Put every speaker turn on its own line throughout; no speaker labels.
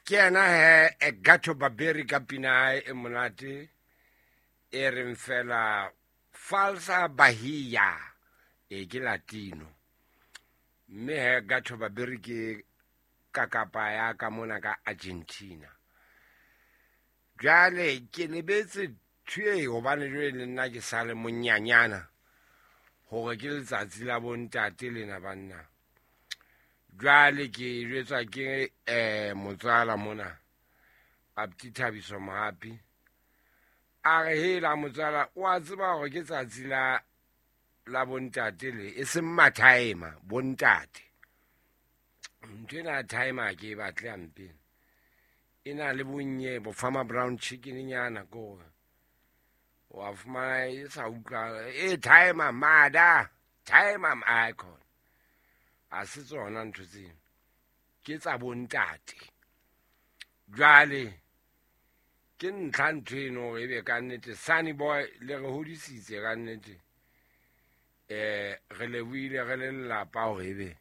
Ke yena he Gato Barbieri ka pina ya hae e monate e reng fela Falsa Bahia, e ke Latino. Mme he Gato Barbieri ke kakapa ya ka mona ka Argentina. Jwale ke lebetse thwe hobane jwale le nna ke sale monyanyana hore ke letsatsi la bontate lena banna. Jwale ke jwetswa ke motswala mona Abti Thabiso Mohapi. A re hela motswala o a tseba hore ke tsatsi la bontate le e seng mathaema bontate. Ntho ena ya timer ke e batle hampe. E na le bonnye bo farmer brown chicken nyana ko. Wa fumana e sa utlwa e timer mada timer icon. A se tsona ntho tseno ke tsa bontate. Jwale ke ntlha ntho eno hore ebe ka nnete Sunny Boy le re hodisitse ka nnete. Re lebohile re le lelapa hore ebe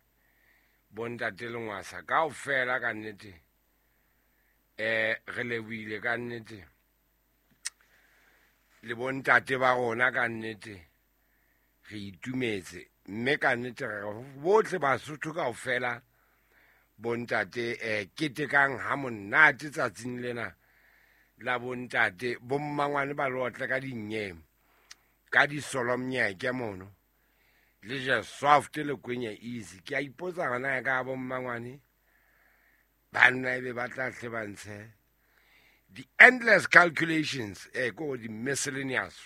bontate Lengwasa kaofela ka nnete. Re lebohile ka nnete le bontate ba rona ka nnete re itumetse mme ka nnete re bohle Basotho kaofela bontate ketekang ha monate tsatsing lena la bontate. Bommangwane ba lotle ka dinyeme ka disolomnyeke mono le je soft le kwenye easy. Ke a ipotsa hona ka bommangwane banna ebe ba tla hle ba ntshe the endless calculations ko di miscellaneous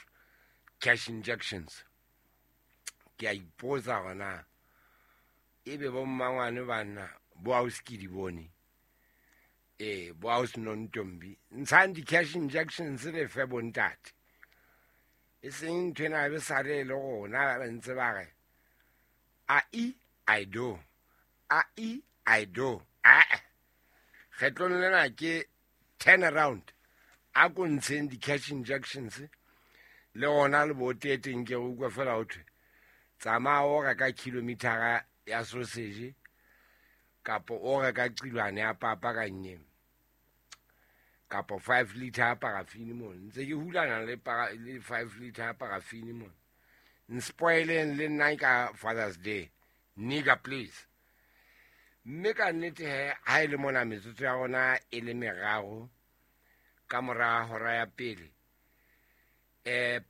cash injections. Ke a ipotsa hona ebe bommangwane banna bo ausi di bone bo ausi Nontombi ntshang di cash injections le fe bontate e seng ntho ena be sa le le rona ba ntse ba re a i I do a i I do a kgetlong lena ke turn around a ko ntsheng di cash injections le ona le bo teteng ke utlwa fela ho thwe tsamaya o reka kilometer ya sausage kapo o reka qilwane ya papa ka nnye kapo 5 liter ya parafini mona ntse ke hulana le 5 liter ya parafini mona nspoileng le nna ka Father's Day nigga please. Mme ka nnete he ha e le mona metsotso ya rona e le meraro ka mora hora ya pele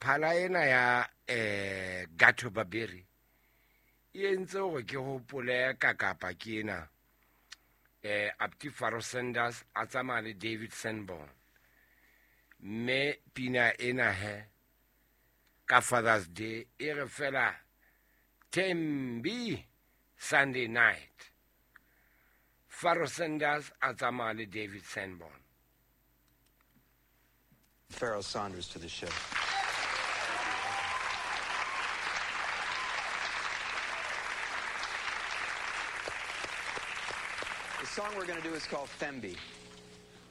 phala ena ya Gato Barbieri e entse hore ke hopole kakapa ke ena Abti Pharoah Sanders a tsamaya le David Sanborn mme pina ena he ka Father's Day e re fela Thembi Sunday night. Pharoah Sanders a tsamaya le David Sanborn.
Pharoah Sanders to the show. The song we're going to do is called Thembi.